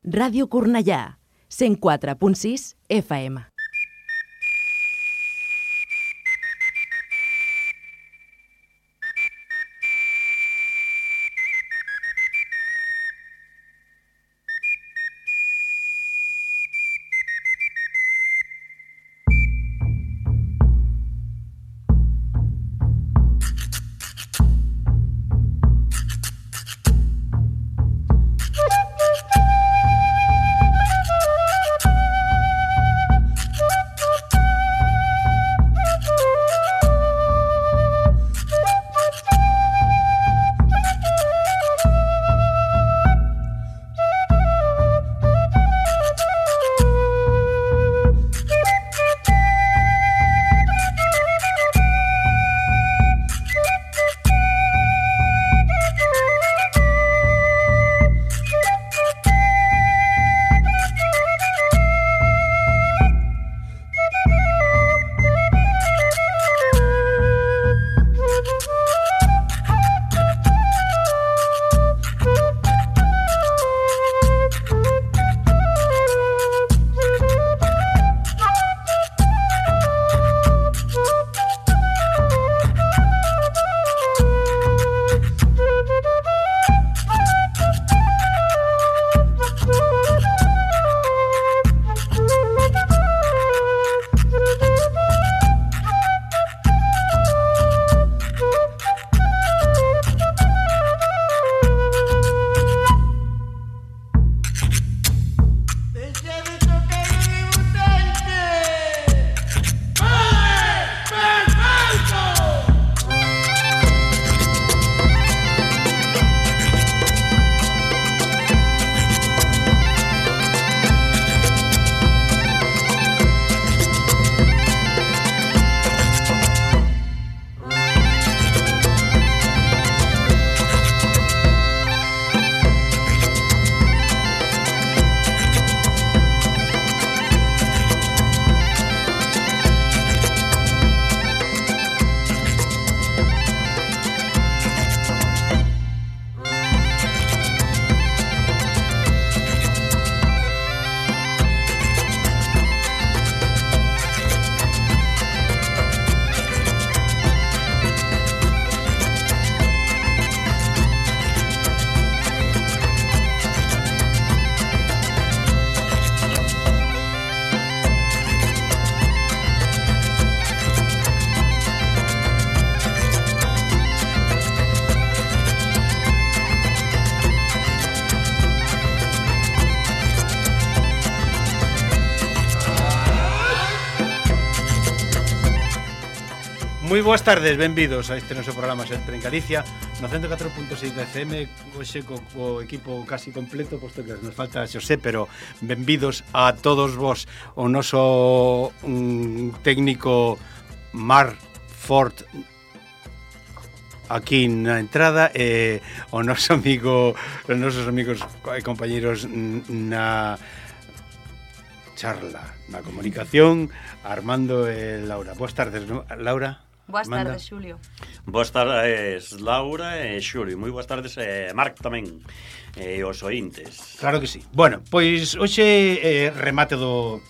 Ràdio Cornellà, 104.6 FM. Moi boas tardes, benvidos a este noso programa Sempre en Galicia no 104.6 da FM, hoxe co equipo casi completo, posto que nos falta Xosé, pero benvidos a todos vos. O noso técnico Marc Ford aquí na entrada, o noso amigo, os nosos amigos e compañeros na charla, na comunicación, Armando e Laura. Boas tardes, Laura. Boas Armando. tardes, Xulio. Boas tardes, Laura e Xulio. Moi boas tardes, Marc tamén, e os ointes. Claro que sí. Bueno, pois hoxe remate do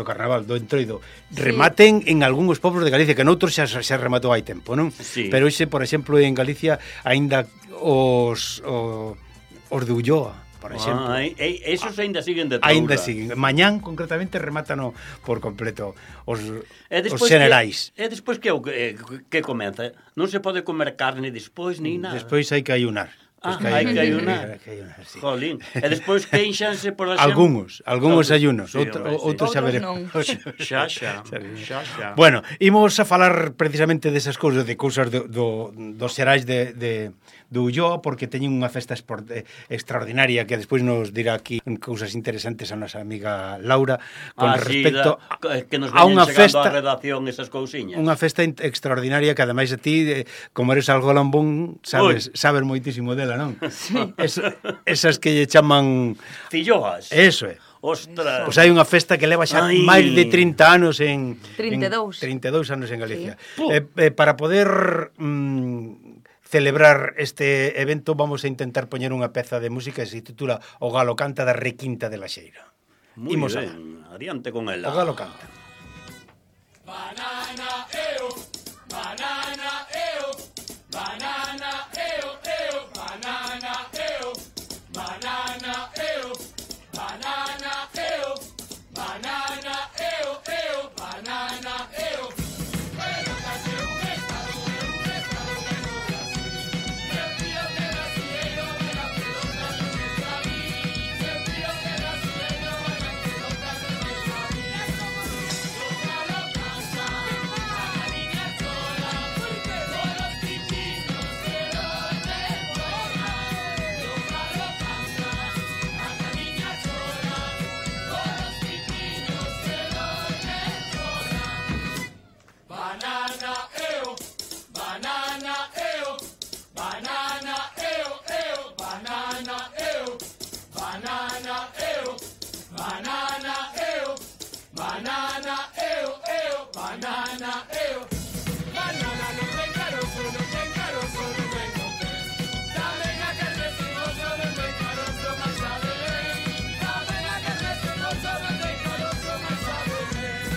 carnaval, do entroido. Sí. Rematen en algúns pobos de Galicia, que noutros xa rematou hai tempo, non? Sí. Pero hoxe, por exemplo, en Galicia aínda os de Ulloa, por exemplo. Esos aínda siguen de toura. Aínda siguen. Mañán, concretamente, remátano por completo os xenerais. generais. E despois que comeza? Non se pode comer carne despois, ni nada. Despois hai que ayunar. Hai que ayunar. Sí. Jolín. E despois queixanse por exemplo... Algunos ayunos, Sí, outros xa veremos. Xa. Bueno, imos a falar precisamente desas cousas, de cousas dos xerais de Ulloa, porque teñen unha festa extraordinaria que despois nos dirá aquí cousas interesantes a nosa amiga Laura con respecto que nos a unha festa, festa a redacción esas cousiñas. Unha festa extraordinaria que ademais a ti, como eres algo lambón, sabes moitísimo dela, non? Sí. Esas que lle chaman filloas. Eso é. Ostras. Pois hai unha festa que leva xa máis de 30 anos en 32 anos en Galicia. Sí. Para poder celebrar este evento vamos a intentar poñer unha peza de música que se titula O Galo Canta da Requinta de la Xeira. Muy Imos ben, adiante con ela. O Galo Canta. Banana, eo, banana, eo, banana, eo, eo, banana, eo, banana, eo, banana, eo, banana, eo, eo, banana, eo. Bueno, casi un estado bueno, el tío que nacieron de la pelota de nuestra vida, el tío que nacieron de la pelota de nuestra vida. Banana, eo, banana, eo, banana, eo, eo, banana, eo, banana, eo, banana, eo, banana, eo, eo, banana, eo. Banana no ten carozo, no ten carozo, no ten coque. Dame a que recimoso, no ten carozo, más sabe bien. Dame a que recimoso, no ten carozo, más sabe bien.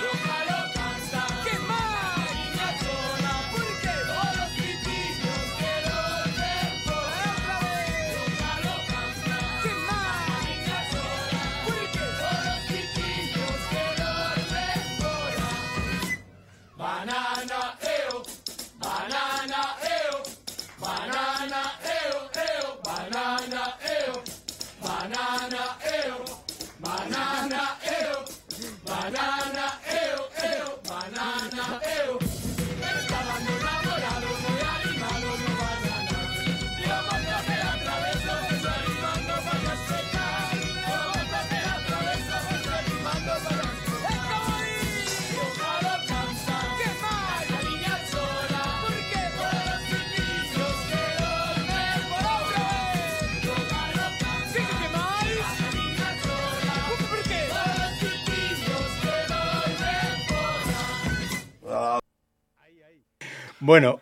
Lo calo canta, ¿qué más? La niña sola, ¿por qué? Todos los pitillos quiero ver por otra vez. Lo calo canta, ¿qué más? La niña sola, ¿por qué? Todos los pitillos quiero ver por banana, eo, banana, eo, banana, eo, eo, banana, eo, banana, eo, banana, eo, banana, eo, eo, banana, eo. Estaban los enamorados, muy animados, no banana. Yo monto que la atraveso, voy animando para secar. Yo monto que la atraveso, voy animando para secar. Yo jalo cansa, ¿qué más? La niña sola, ¿por qué? Todos los chiquillos quiero ver por otra vez. Yo jalo cansa, ¿qué más? La niña sola, ¿por qué? Todos los chiquillos quiero ver por Bueno,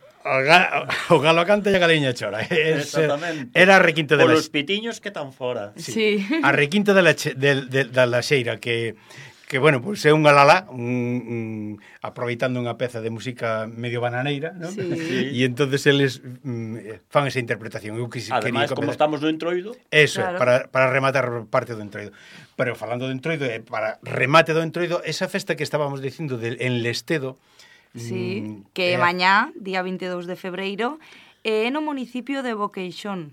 o Galo Canta e a Galiña Chora. Exactamente. Era a Requinta de Por la os pitiños que tan fora. Sí. A Requinta de la Xeira que bueno, pues é unha lalá, aproveitando unha peza de música medio bananeira, ¿no? Sí. E entonces eles fan esa interpretación. Eu Ademais, como estamos no entroido, eso, Claro. para rematar parte do entroido. Pero falando do entroido, para remate do entroido, esa festa que estábamos dicindo en Lestedo, Sí, que mañá, día 22 de febreiro, é no municipio de Boqueixón.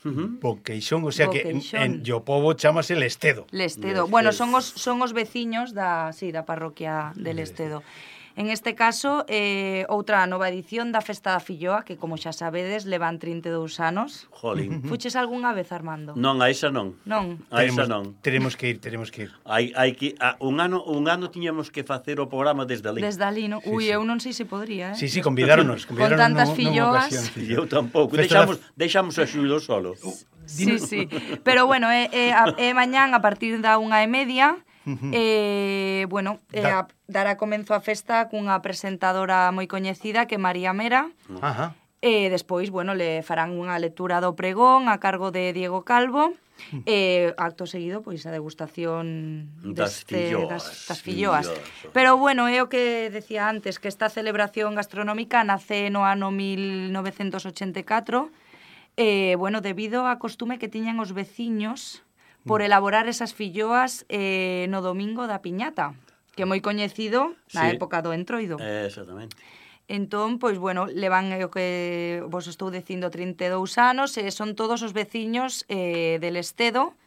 Boqueixón, o sea Boqueixón. que o pobo chamase Lestedo. Lestedo. Bueno, son os veciños da parroquia de Lestedo. En este caso, outra nova edición da Festa da Filloa, que, como xa sabedes, levan 32 anos. jolín. Fuches algunha vez, Armando? Non, a esa non. Non? A esa non. Tenemos que ir. Hai que un ano tiñamos que facer o programa desde ali. Desde ali, non? Ui, sí. eu non sei se podría, Sí, convidáronos Con tantas filloas. E eu tampouco. Festa Deixamos a Xulo solo. Sí, sí. Pero bueno, mañán a partir da 1:30. Bueno, dará comenzo a festa cunha presentadora moi coñecida que é María Mera. Ajá. Despois, bueno, le farán unha lectura do pregón a cargo de Diego Calvo. Acto seguido, pois a degustación Das filloas. das filloas. Pero bueno, é o que decía antes, que esta celebración gastronómica nace no ano 1984, bueno, debido a costume que tiñan os veciños por elaborar esas filloas no domingo da piñata, que é moi coñecido na Sí. época do entroido. Exactamente. Entón, pois, bueno, levan o que vos estou dicindo 32 anos, son todos os veciños del Lestedo,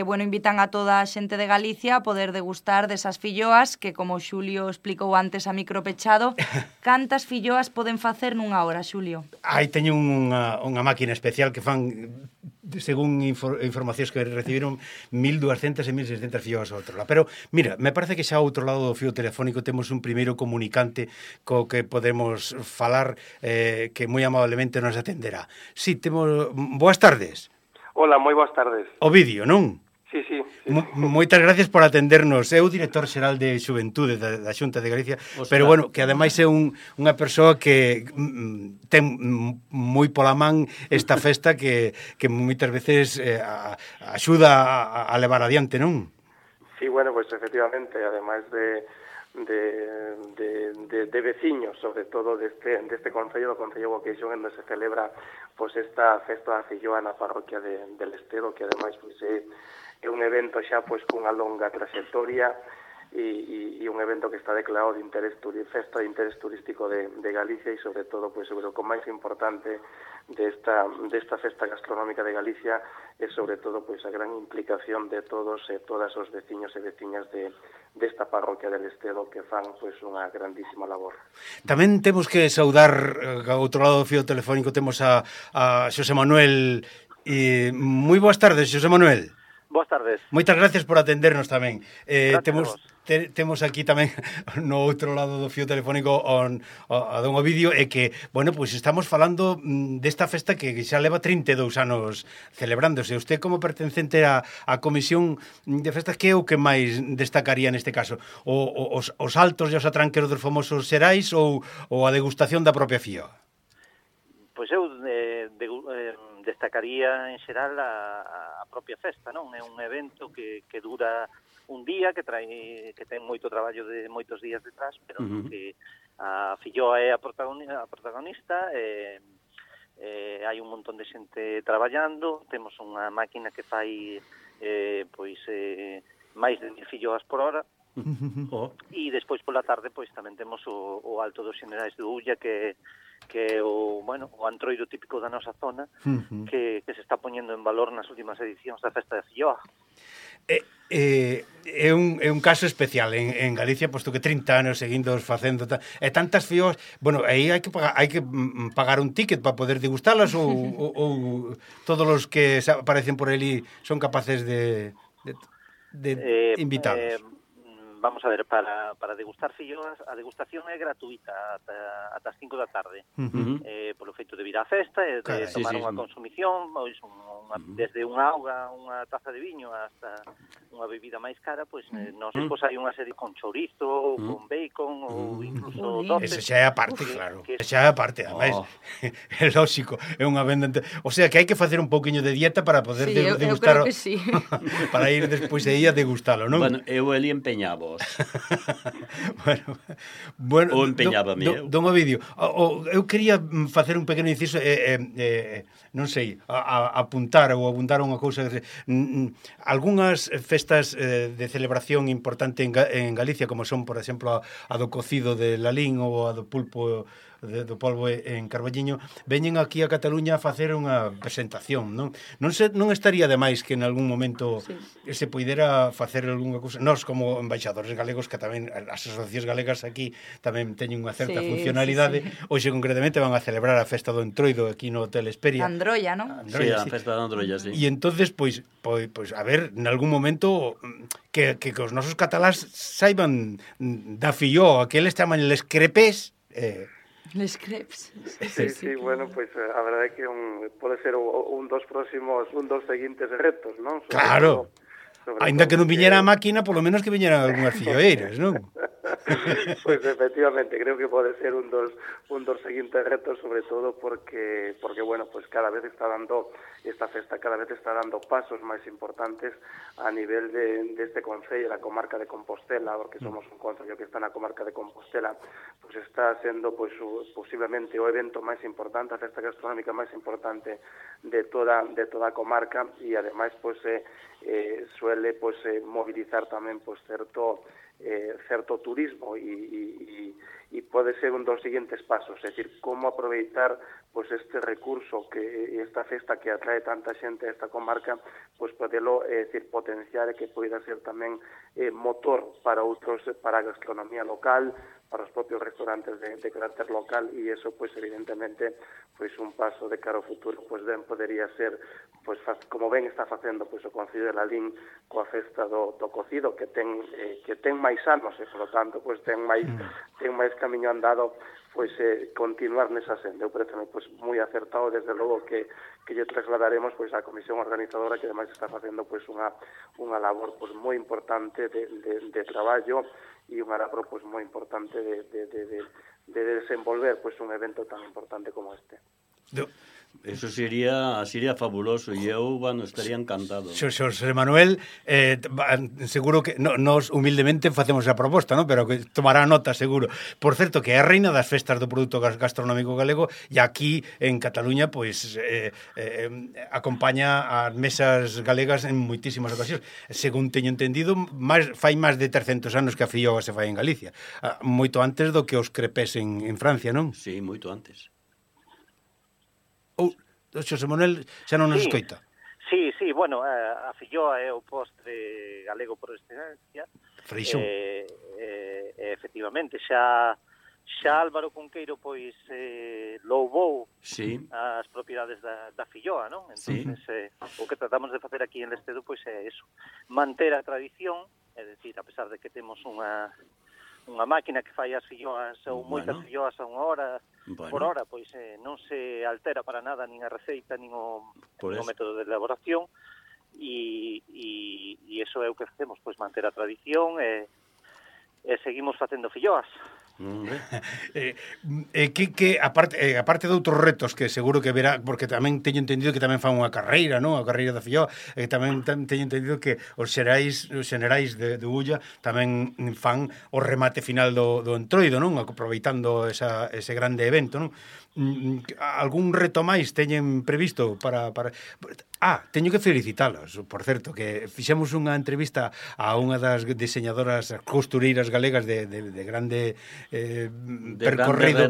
bueno, invitan a toda a xente de Galicia a poder degustar desas filloas que, como Xulio explicou antes a micro pechado, cantas filloas poden facer nunha hora, Xulio? Aí teño unha máquina especial que fan, según informacións que recibiron, 1.200 e 1.600 filloas ao outro lado. Pero, mira, me parece que xa ao outro lado do fío telefónico temos un primeiro comunicante co que podemos falar, que moi amablemente nos atenderá. Sí, temos... Boas tardes. Ola, moi boas tardes. O vídeo, non? Sí. Moitas gracias por atendernos. É o director xeral de Xuventude da Xunta de Galicia, pero bueno, que ademais é unha persoa que ten moi pola man esta festa que moitas veces axuda a levar adiante, non? Sí, bueno, pues efectivamente, ademais de veciños, sobre todo deste concello, do Concello Boqueixón, onde se celebra pues esta festa da filloa na parroquia del Estedo, que ademais pues é un evento xa pues cunha longa trayectoria e un evento que está declarado de festa de interés turístico de Galicia e sobre todo pues o que máis importante desta festa gastronómica de Galicia é sobre todo pues a gran implicación de todos e todas os veciños e veciñas desta parroquia del Estedo que fan pues unha grandísima labor. Tamén temos que saudar ao outro lado do fío telefónico temos a Xosé Manuel. Moi boas tardes, Xosé Manuel. Boas tardes. Moitas gracias por atendernos tamén. Temos aquí tamén no outro lado do fío telefónico a don Ovidio e que, bueno, pois estamos falando desta festa que xa leva 32 anos celebrándose. Usted como pertencente á Comisión de Festas, que é o que máis destacaría neste caso? Os altos e os atranqueros dos famosos xerais ou a degustación da propia fíoa? Pois eu destacaría en xeral a propia festa, non? É un evento que dura un día, que ten moito traballo de moitos días detrás, pero que a filloa é a protagonista, hai un montón de xente traballando, temos unha máquina que fai máis de 1000 filloas por hora, e despois pola tarde pois tamén temos o Alto dos Xenerais de Ulla, que é o antroido típico da nosa zona, que se está poñendo en valor nas últimas edicións da festa de filloa. É un caso especial en Galicia, posto que 30 anos seguindos facendo e tantas filloas, bueno, aí hai que pagar un ticket para poder degustalas ou todos os que aparecen por ali son capaces de invitarlos? Vamos a ver, para degustar filloas, a degustación é gratuita ata as 5 da tarde. Polo feito de vir á festa e de tomar unha consumición, desde unha auga, unha taza de viño hasta unha bebida máis cara, pois nos despois hai unha serie con chourizo, con bacon ou incluso doces. Ese xa é a parte, claro. Xa é a parte, además, é lógico, é unha venda. O sea, que hai que facer un pouquiño de dieta para poder degustar. Eu creo que sí. Para ir despois aí a degustalo, non? Bueno, eu ali empeñaba. Bueno, ou empeñábame don Ovidio, eu quería facer un pequeno inciso non sei, apuntar unha cousa. Algunhas festas de celebración importante en Galicia, como son, por exemplo, a do cocido de Lalín ou a do pulpo do polvo en Carballiño, veñen aquí a Cataluña a facer unha presentación, non? Non estaría demais que en algún momento se poidera facer algunha cousa. Nós, como embaixadores galegos, que tamén as asociacións galegas aquí tamén teñen unha certa funcionalidade, hoxe concretamente van a celebrar a festa do Entroido aquí no Hotel Esperia. Androlla, non? Sí, a festa da Androlla, sí. E entonces, pois, a ver, en algún momento que os nosos catalás saiban da filloa, que eles chaman les crepes, Les crepes. Sí, bueno, pues a verdade é que pode ser un dos seguintes retos, non? Claro. Ainda que non viñera a máquina, polo menos que viñeran algunhas filloeiras, non? Pues efectivamente, creo que pode ser un dos seguintes retos, sobre todo porque bueno, pues cada vez esta festa cada vez está dando pasos máis importantes a nivel deste concello, da comarca de Compostela, porque somos un concello que está na comarca de Compostela, pues está sendo pues posiblemente o evento máis importante, a festa gastronómica máis importante de toda a comarca, e ademais pues suele pues movilizar tamén pues certo turismo e pode ser un dos seguintes pasos, é dicir, como aproveitar pues este recurso que esta festa que atrae tanta xente a esta comarca, pues podelo potenciar e que poida ser tamén motor para a gastronomía local, para os propios restaurantes de carácter local, e eso pues evidentemente pues un paso de cara ao futuro pues ben podería ser pues como ben está facendo pues o Concello de Lalín coa festa do cocido, que ten máis anos e por lo tanto pues ten máis camiño andado pois continuar nesa senda. Eu pareceme pois moi acertado, desde logo que lle trasladaremos pois á comisión organizadora, que ademais está facendo pois unha labor pois moi importante de traballo e unha labor pois moi importante de desenvolver pois un evento tan importante como este. Eso sería fabuloso e eu, estaría encantado. Xosé Manuel, seguro que nos humildemente facemos a proposta, ¿no? Pero que tomará nota, seguro. Por certo, que é a reina das festas do produto gastronómico galego e aquí en Cataluña pois acompaña as mesas galegas en moitísimas ocasións. Según teño entendido, fai máis de 300 anos que a filloa se fai en Galicia. Moito antes do que os crepés en Francia, non? Sí, moito antes. Xosé Manuel xa non nos escoita. Sí, bueno, a filloa é o postre galego por excelencia. Freixón. Efectivamente, xa Álvaro Cunqueiro pois louvou as propiedades da filloa, non? Entonces, o que tratamos de facer aquí en Lestedo pois é eso, manter a tradición, é dicir, a pesar de que temos unha máquina que fai as filloas ou moitas filloas a unha hora por hora, pois non se altera para nada nin a receita, nin o método de elaboración, e iso é o que facemos, pois manter a tradición e seguimos facendo filloas. Que aparte de outros retos que seguro que verá, porque tamén teño entendido que tamén fan unha carreira, non? A carreira da filloa, tamén teño entendido que os xerais de Ulla tamén fan o remate final do Entroido, non? Aproveitando ese grande evento, non? Algún reto máis teñen previsto para... teño que felicitalos, por certo, que fixemos unha entrevista a unha das diseñadoras costureiras galegas de grande percorrido,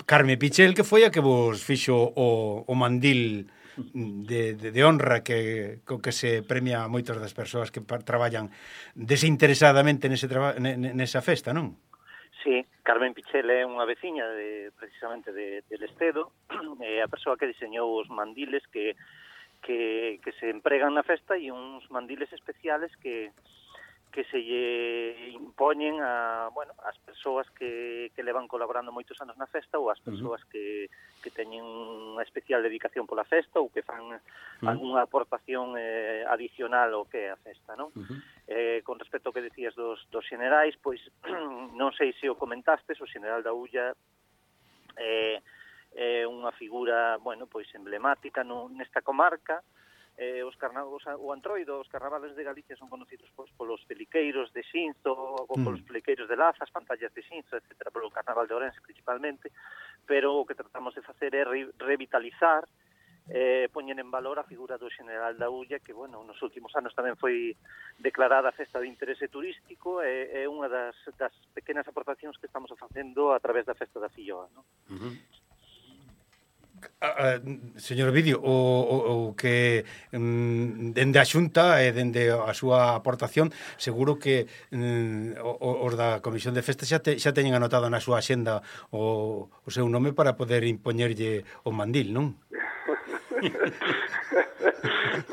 Carme Pichel, que foi a que vos fixo o mandil de honra co que se premia a moitas das persoas que traballan desinteresadamente nesa festa, non? Sí, Carmen Pichel é unha veciña precisamente de Lestedo, é a persoa que diseñou os mandiles que se empregan na festa e uns mandiles especiales que se lle impoñen as persoas que levan colaborando moitos anos na festa ou as persoas que teñen unha especial dedicación pola festa ou que fan algunha aportación adicional ao que é a festa, non? Con respecto ao que decías dos xenerais, pois non sei se o comentastes, o xeneral da Ulla é unha figura, pois emblemática nesta comarca. O Antroido, os carnavales de Galicia son conocidos pois polos peliqueiros de Xinzo, ou polos peliqueiros de Laza, as pantallas de Xinzo, etc., polo carnaval de Ourense principalmente, pero o que tratamos de facer é revitalizar, poñer en valor a figura do xeneral da Ulla, que, nos últimos anos tamén foi declarada festa de interese turístico, é unha das pequenas aportacións que estamos facendo a través da festa da filloa, non? Señor Ovidio, o que dende a Xunta e dende a súa aportación, seguro que os da Comisión de Festas xa teñen anotado na súa axenda o seu nome para poder impoñerlle o mandil, non?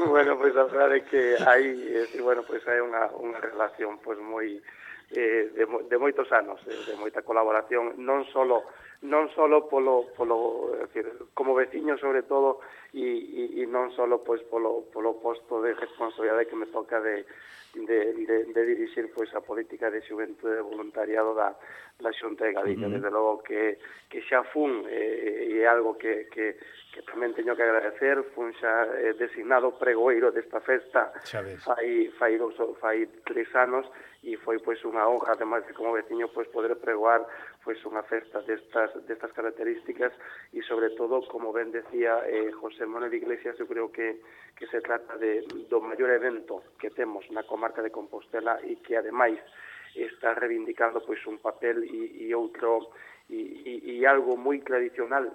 Bueno, pois a verdade é que hai unha relación pois moi de moitos anos, de moita colaboración, non solo polo decir, como veciño sobre todo e non solo pois polo posto de responsabilidade que me toca de dirixir pois a política de xuventude e voluntariado da Xunta de Galicia. Desde logo que xa fun e é algo que tamén teño que agradecer, fun xa designado pregoeiro desta festa fai 3 anos e foi pois unha honra, ademais de como veciño, pois poder pregoar pois unha festa destas características e sobre todo, como ben decía José Manuel Iglesias, eu creo que se trata do maior evento que temos na comarca de Compostela e que ademais está reivindicando pois un papel e outro e algo moi tradicional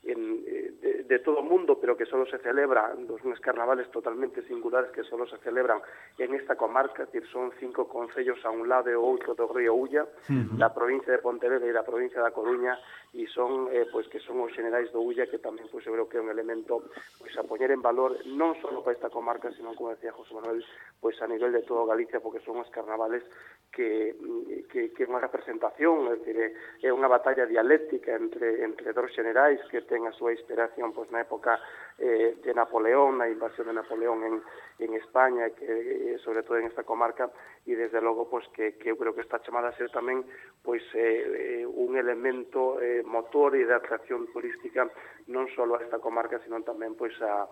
de todo o mundo, pero que solo se celebran uns carnavales totalmente singulares que solo se celebran en esta comarca, es decir, son 5 concellos a un lado e outro do río Ulla, da provincia de Pontevedra e da provincia da Coruña, e son pois que son os xenerais do Ulla, que tamén pois eu creo que é un elemento pois a poñer en valor non só para esta comarca, sino como decía José Manuel, pois a nivel de toda Galicia, porque son os carnavales que é unha representación, é dicir, é unha batalla dialéctica entre dos xenerais que ten a súa inspiración pois na época de Napoleón, na invasión de Napoleón en España, que sobre todo en esta comarca, e desde logo pois que eu creo que está chamada a ser tamén pois un elemento motor e de atracción turística non só a esta comarca, sino tamén pois a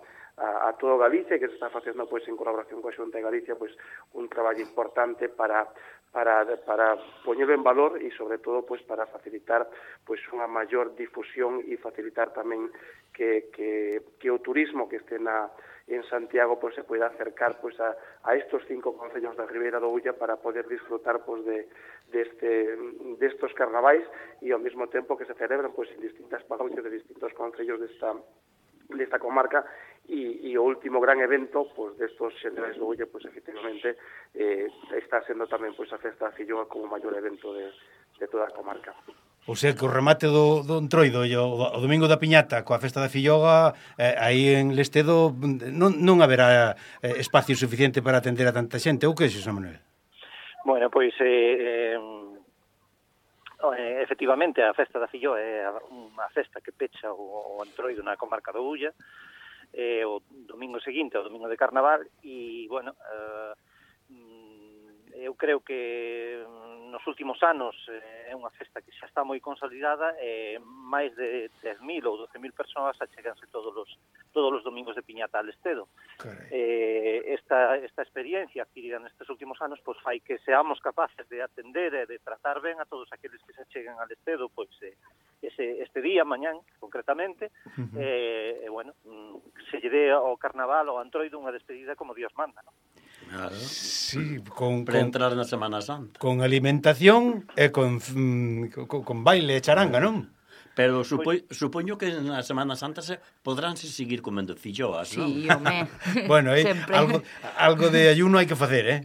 todo Galicia, que se está facendo pois en colaboración coa Xunta de Galicia pois un traballo importante para poñer en valor e sobre todo pois para facilitar pois unha maior difusión e facilitar tamén que o turismo que este en Santiago pois se poida acercar pois a estos 5 concellos da Ribeira do Ulla para poder disfrutar pois destos carnavais e ao mesmo tempo que se celebran pois en distintas parroquias de distintos concellos desta comarca e o último gran evento pois destos xenerais do Ulla pois efectivamente está sendo tamén pois a festa da Filloa como o maior evento de toda a comarca. O sea, que o remate do Entroido e o domingo da Piñata coa festa da Filloga, aí en Lestedo non haberá espacio suficiente para atender a tanta xente, ou que, Xosé Manuel? Bueno, pois efectivamente a festa da Filloa é unha festa que pecha o Entroido na comarca do Ulla, o domingo seguinte, o domingo de Carnaval, e, bueno, eu creo que nos últimos anos é unha festa que xa está moi consolidada, máis de 10.000 ou 12.000 persoas acheganse todos os domingos de Piñata al Lestedo. Esta experiencia adquirida nestes últimos anos pois fai que seamos capaces de atender e de tratar ben a todos aqueles que se acheguen al Lestedo pois este día, mañán, concretamente, bueno, se lle dé ao Carnaval ou ao Antroido unha despedida como Dios manda, non? Claro. Sí, para entrar na Semana Santa. Con alimentación e con baile e charanga, non? Pero supoño que na Semana Santa podrán seguir comendo filloas, non? Sí, home. Bueno, algo de ayuno hai que facer,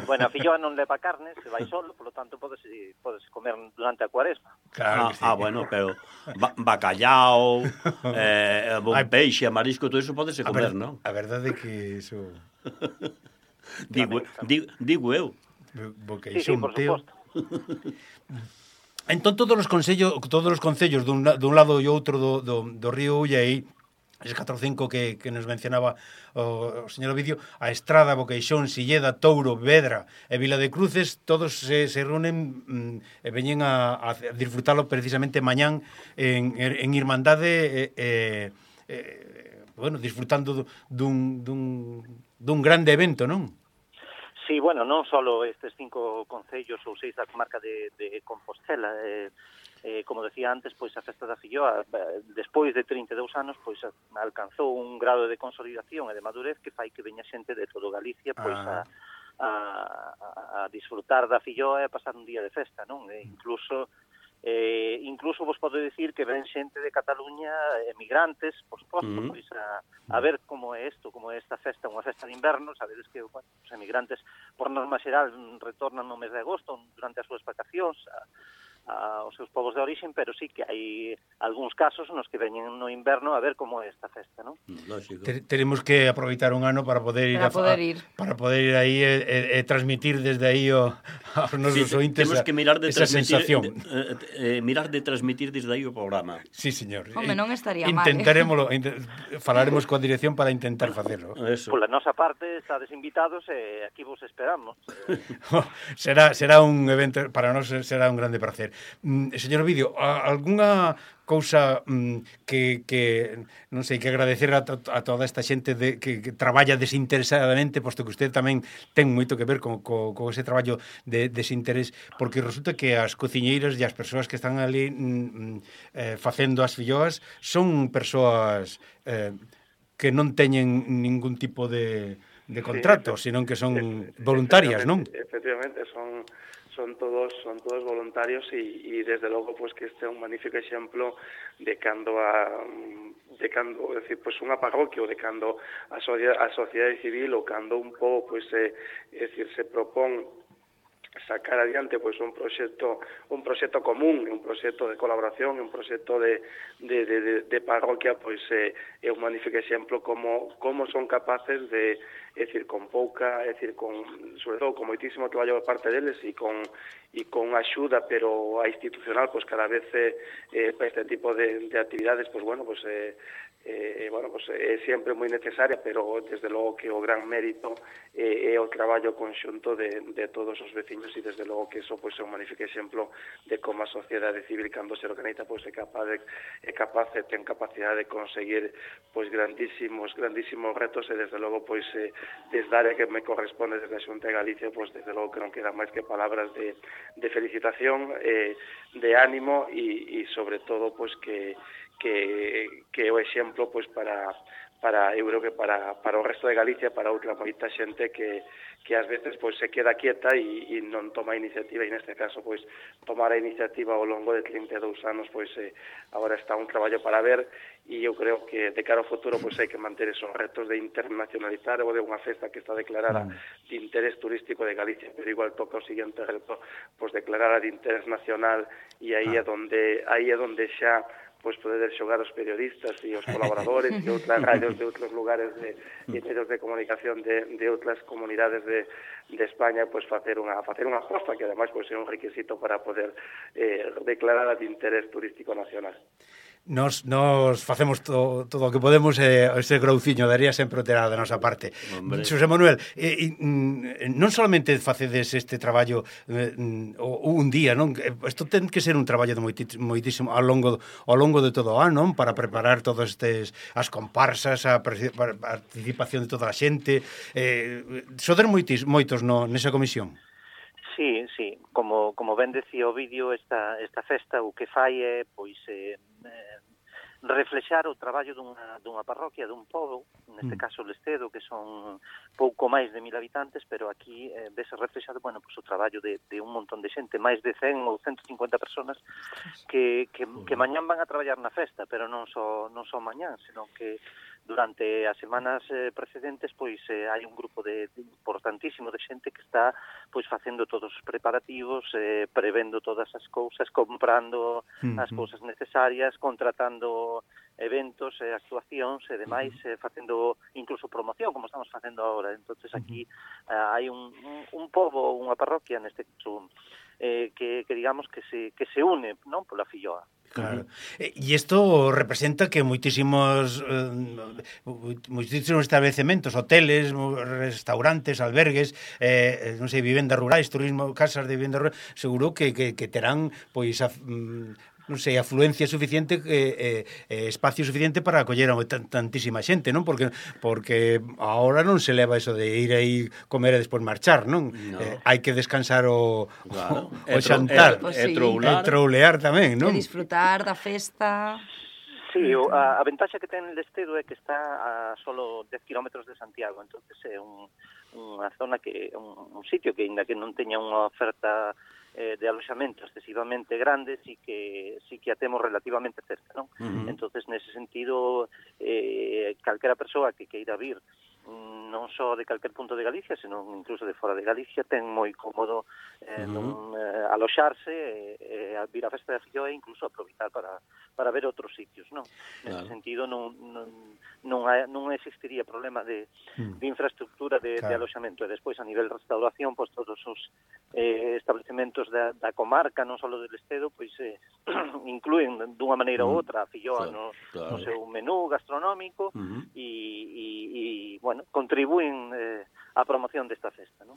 Bueno, a filloa non leva carne, se vai solo, polo tanto podes comer durante a Cuaresma. Claro sí. Bueno, pero bacallao, bon peixe, marisco, todo iso podese comer, non? A verdade é que iso... Digo eu. Sí, por suposto. Entón todos os concellos dun lado e outro do río Ulla aí, eses 4 ou 5 que nos mencionaba o señor Ovidio, a Estrada, Boqueixón, Silleda, Touro, Vedra e Vila de Cruces, todos se reúnen e veñen a disfrutalo precisamente mañán en Irmandade, bueno, disfrutando dun grande evento, non? Sí, bueno, non só estes 5 concellos ou 6 da comarca de Compostela, como decía antes, pois a festa da Filloa, despois de 32 anos, pois alcanzou un grado de consolidación e de madurez que fai que veña xente de todo Galicia pois a disfrutar da Filloa e a pasar un día de festa, non? Incluso vos podo dicir que ven xente de Cataluña, emigrantes, por suposto, pois a ver como é isto, como é esta festa, unha festa de inverno. Sabedes que os emigrantes, por norma xeral, retornan no mes de agosto durante as súas vacacións aos seus povos de origen, pero sí que hai algúns casos nos que veñen no inverno a ver como é esta festa, non? Lógico. Tenemos que aproveitar un ano para poder ir aí e transmitir desde aí aos nosos ointes esa sensación. Mirar de transmitir desde aí o programa. Sí, señor. Home, non estaría mal. Intentaremoslo, falaremos coa dirección para intentar facelo. Pola nosa parte, estades invitados e aquí vos esperamos. Será un evento, para nós será un grande placer. Señor Ovidio, algunha cousa que non sei, que agradecer a toda esta xente que traballa desinteresadamente, posto que usted tamén ten moito que ver con ese traballo de desinterés, porque resulta que as cociñeiras e as persoas que están ali facendo as filloas son persoas que non teñen ningún tipo de contrato, sino que son voluntarias, non? Efectivamente, son son todos voluntarios e desde logo pois que este é un magnífico exemplo de cando decir, pois unha parroquia ou de cando a sociedade civil ou cando un pouco pois decir, se propón sacar adiante pois un proxecto común, un proxecto de colaboración, un proxecto de parroquia, pois é un magnífico exemplo como son capaces de, é dicir, con pouca, é dicir, sobre todo con moitísimo traballo por parte deles e con axuda, pero a institucional, pois cada vez para este tipo de actividades, pois bueno, pois é sempre moi necesaria, pero desde logo que o gran mérito é o traballo conxunto de todos os veciños e desde logo que eso pois é un magnífico exemplo de como a sociedade civil cando se organiza pois é capaz e ten capacidade de conseguir pois grandísimos retos e desde logo pois desde a área que me corresponde desde a Xunta de Galicia pois desde logo que non quedan máis que palabras de felicitación, de ánimo e sobre todo pois que o exemplo pois para eu creo que para o resto de Galicia, para outra moita xente que ás veces pois se queda quieta e non toma iniciativa e neste caso pois tomar a iniciativa ao longo de 32 anos pois agora está un traballo para ver e eu creo que de cara ao futuro pois hai que manter esos retos de internacionalizar ou de unha festa que está declarada de interés turístico de Galicia, pero igual toca o seguinte reto pois declarada de interés nacional e aí é onde xa pois poder xogar os periodistas e os colaboradores e outras radios de outros lugares de medios de comunicación de outras comunidades de España, pois facer unha aposta que ademais pois é un requisito para poder declarar de interés turístico nacional. Nos facemos todo o que podemos ese grouciño daría sempre o terá da nosa parte. Xosé Manuel, non solamente facedes este traballo un día, non? Isto ten que ser un traballo de moitísimo ao longo de todo o ano, non? Para preparar todos as comparsas, a participación de toda a xente. Sodes moitos nesa comisión? Sí, como ben decía o vídeo, esta festa o que fai é pois reflexar o traballo dunha parroquia, dun pobo, neste caso Lestedo, que son pouco máis de 1000 habitantes, pero aquí vese reflexado, bueno, pois o traballo de un montón de xente, máis de 100 ou 150 personas que mañán van a traballar na festa, pero non só mañán, senón que durante as semanas precedentes pois hai un grupo importantísimo de xente que está pois facendo todos os preparativos, prevendo todas as cousas, comprando as cousas necesarias, contratando eventos, actuacións e demais, facendo incluso promoción, como estamos facendo agora. Entonces aquí hai un pobo, unha parroquia neste caso, que digamos que se une, non, pola filloa. Claro. E isto representa que moitísimos establecementos, hoteles, restaurantes, albergues, non sei, vivendas rurais, turismo, casas de vivendas rurais, seguro que terán pois non sei, afluencia suficiente, espacio suficiente para acoller a tantísima xente, non? Porque agora non se leva eso de ir aí comer e despois marchar, non? Hai que descansar o xantar, e troulear tamén, non? E disfrutar da festa. Sí, a ventaxa que ten Lestedo é que está a solo 10 kilómetros de Santiago, entonces é unha zona que un sitio que ainda que non teña unha oferta de aloxamento excesivamente grande, sí que a temos relativamente cerca, non? Entonces, nese sentido, calquera persoa que queira vir non só de calquer punto de Galicia, senón incluso de fora de Galicia, ten moi cómodo aloxarse, vir a festa da filloa e incluso aproveitar para ver outros sitios, non? Nese sentido non existiría problema de infraestructura de aloxamento. E despois, a nivel de restauración, pois todos os establecementos da comarca, non só do Lestedo, pois incluen dunha maneira ou outra a filloa no seu menú gastronómico e bueno, contribúen á promoción desta festa, non?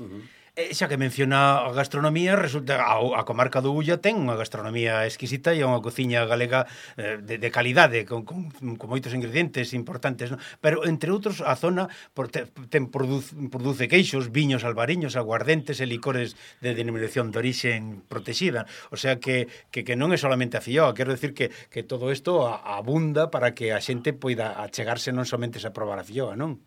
Xa que menciona a gastronomía, resulta a comarca do Ulla ten unha gastronomía exquisita e unha cociña galega de calidade, con moitos ingredientes importantes, non? Pero, entre outros, a zona produce queixos, viños albariños, aguardentes e licores de denominación de orixen protexida. O sea que non é solamente a filloa, quero decir que todo isto abunda para que a xente poida achegarse non somente a probar a filloa, non?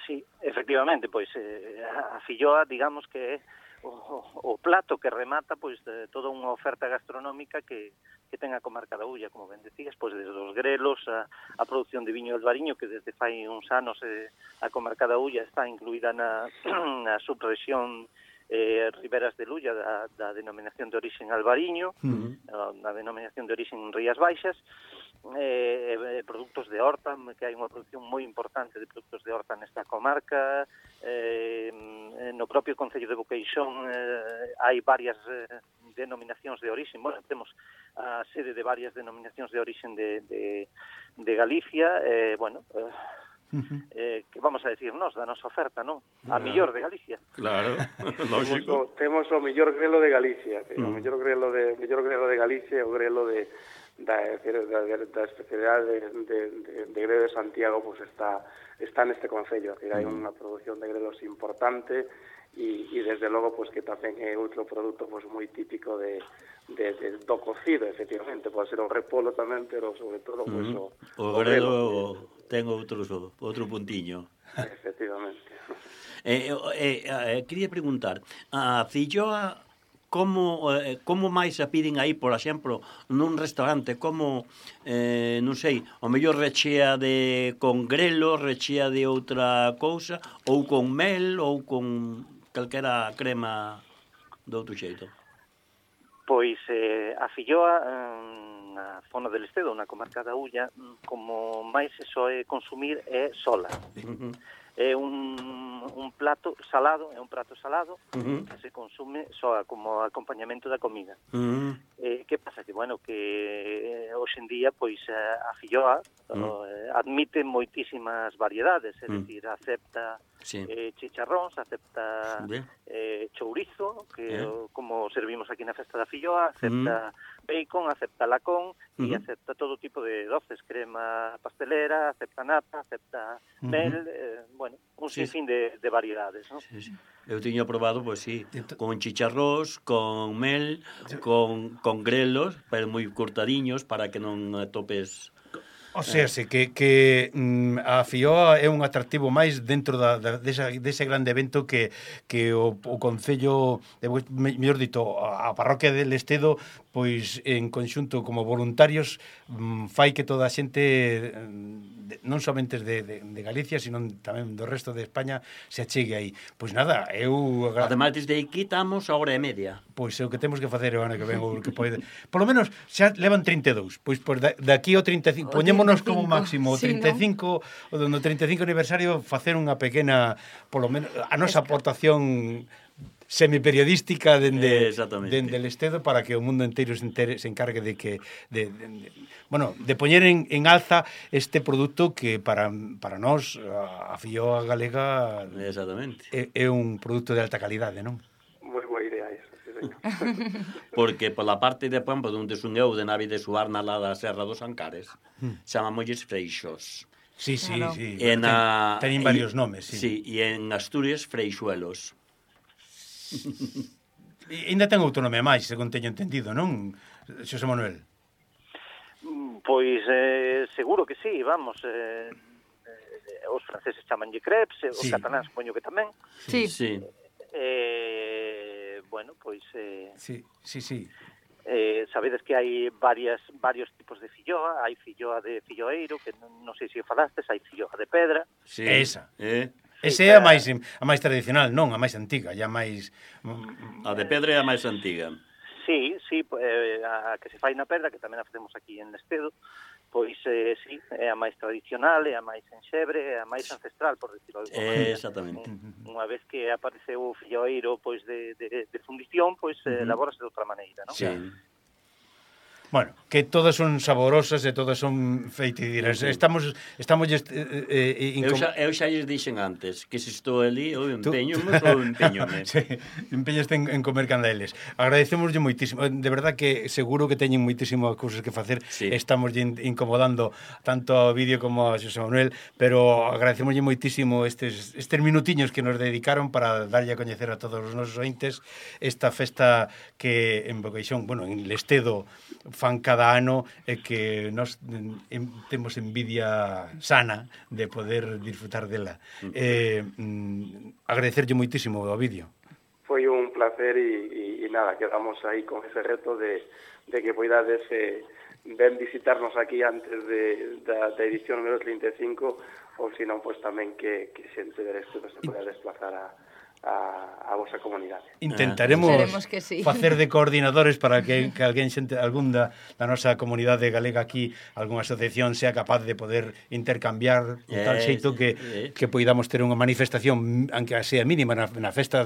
Sí, efectivamente, pois a filloa, digamos que é o plato que remata pois toda unha oferta gastronómica que ten a comarca da Ulla, como ben decías, pois desde os grelos a produción de viño albariño, que desde fai uns anos a comarca da Ulla está incluída na subrexión Riberas de Lulla da denominación de orixen albariño, na denominación de orixen Rías Baixas, produtos de horta, que hai unha produción moi importante de produtos de horta nesta comarca. No propio Concello de Boqueixón hai varias denominacións de orixen. Bueno, temos a sede de varias denominacións de orixen de Galicia. Que vamos a decirnos da nosa oferta, non? A mellor de Galicia. Claro, lógico. Temos o mellor grelo de Galicia, o mellor grelo de Galicia, o grelo da especialidade de grelo de Santiago, pues está neste concello, hai unha produción de grelos importante e desde logo pues que tamén é outro produto pues moi típico do cocido, efectivamente, pode ser o repolo tamén, pero sobre todo pues o grelo ten outro puntiño. Efectivamente. Quería preguntar, a filloa como máis a piden aí, por exemplo, nun restaurante, como, non sei, o mellor rechea con grelo, rechea de outra cousa, ou con mel, ou con calquera crema de outro xeito? Pois a filloa na zona del Estedo, na comarca da Ulla, como máis se soe consumir é sola. É un prato salado que se consume só como acompañamento da comida. Que pasa? Que, bueno, que hoxe en día, pois, a filloa admite moitísimas variedades, é dicir, acepta chicharróns, acepta chourizo, que como servimos aquí na festa da filloa, acepta bacon, acepta lacón e acepta todo tipo de doces, crema pastelera, acepta nata, acepta mel, bueno, un sinfín de variedades, non? Sí. Eu tiño probado, pois sí, con chicharrós, con mel, con grelos, pero moi cortadiños para que non atopes. O sea, que a filloa é un atractivo máis dentro dese grande evento que o Concello, mellor dito, a parroquia del Estedo, pois en conxunto como voluntarios fai que toda a xente non somente de Galicia, sino tamén do resto de España se achegue aí. Pois nada, ademais desde aquí estamos a hora e media. Pois é o que temos que facer o ano que ven, o que pode. Por lo menos xa levan 32. Pois daqui ao 35, poñémonos como máximo o 35, no 35 aniversario facer unha pequena, polo menos a nosa aportación semiperiodística dende el Estedo para que o mundo inteiro se encargue de poñer en alza este produto que para nós a filloa galega é un produto de alta calidade, non? Moi boa idea eso, sí, señor. Porque pola parte de Pampa, onde son eu, de Nave de Suarna, lá da Serra dos Ancares, chamámosles freixos. Sí. Teñen varios nomes, sí. Sí, e en Asturias, freixuelos. E ainda ten autonomía máis, según teño entendido, non, Xosé Manuel? Pois seguro que sí, vamos. Os franceses chamanlle crepes, os cataláns poño que tamén. Sí. Bueno, pois... Sí. Sabedes que hai varios tipos de filloa. Hai filloa de filloeiro, que non sei se o falastes, hai filloa de pedra. Sí. Esa é a máis tradicional, non a máis antiga, a máis... A de pedra é a máis antiga. Sí, a que se fai na pedra, que tamén a facemos aquí en Estedo, pois sí, é a máis tradicional, é a máis enxebre, é a máis ancestral, por decirlo de alguma maneira. Exactamente. Unha vez que apareceu o filloeiro pois de fundición, pois elabórase de outra maneira, non? Sí. Bueno, que todas son saborosas e todas son feitidiras. Estamos eu xa lles dixen antes que se estou ali, eu empeñome. Sí, empeñaste en comer candeles. Agradecemoslle moitísimo. De verdad que seguro que teñen moitísimas cousas que facer. Sí. Estamos incomodando tanto ao vídeo como a Xosé Manuel, pero agradecemoslle moitísimo estes minutiños que nos dedicaron para darlle a coñecer a todos os nosos ointes esta festa que en Boqueixón, bueno, en Lestedo fan cada ano e que nós temos envidia sana de poder disfrutar dela. Agradecerlle moitísimo o vídeo. Foi un placer facer e nada, quedamos aí con ese reto de que poidades ven visitarnos aquí antes da edición número 35 ou senón pois tamén que xente del estudo se poida desplazar a vosa comunidade. Intentaremos que sí. facer de coordinadores para que alguén xente, algún da nosa comunidade galega aquí, algunha asociación sea capaz de poder intercambiar de tal xeito que poidamos ter unha manifestación, aunque sea mínima, na festa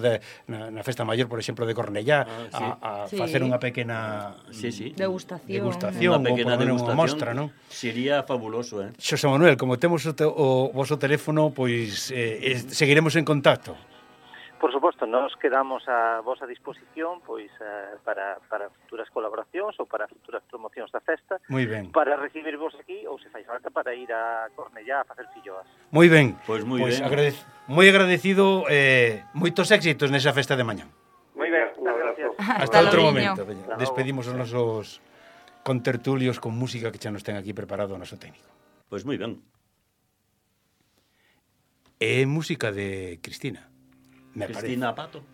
maior, por exemplo, de Cornellá, a facer unha pequena degustación, unha pequena degustación, mostra, non? Sería fabuloso, Xosé Manuel, como temos o voso teléfono, pois seguiremos en contacto. Por suposto, nos quedamos a vosa disposición pois para futuras colaboracións ou para futuras promocións da festa. Moi ben. Para recibirvos aquí ou se fai falta para ir a Cornellá a facer filloas. Moi ben. Pois moi ben. Moi agradecido, moitos éxitos nesa festa de mañá. Moi ben, gracias. Hasta outro momento. Despedimos os nosos contertulios con música que xa nos ten aquí preparado o noso técnico. Pois moi ben. É música de Cristina. Cristina Pato.